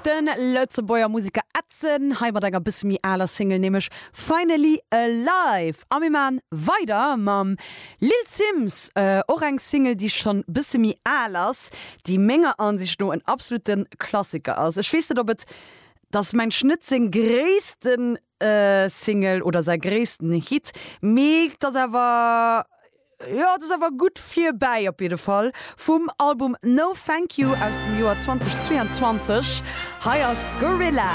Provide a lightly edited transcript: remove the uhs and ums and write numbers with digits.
De Lëtzebuerger Museker Edson, hei mat enger bësse méi aler Single, nämlech Finally Alive. A mir maan weider mam Lil Simz, och eng Single déi schonn bësse méi al ass, déi menger Ansicht no en absolute Klassiker ass. Ech weess net op et, dass mengt net seng gréissten Single oder säi gréissten Hit, mee et ass awer, jo, et ass awer gutt virbäi op jidde Fall. Vum Album No Thank You aus dem Joer 2022, hei ass Gorilla.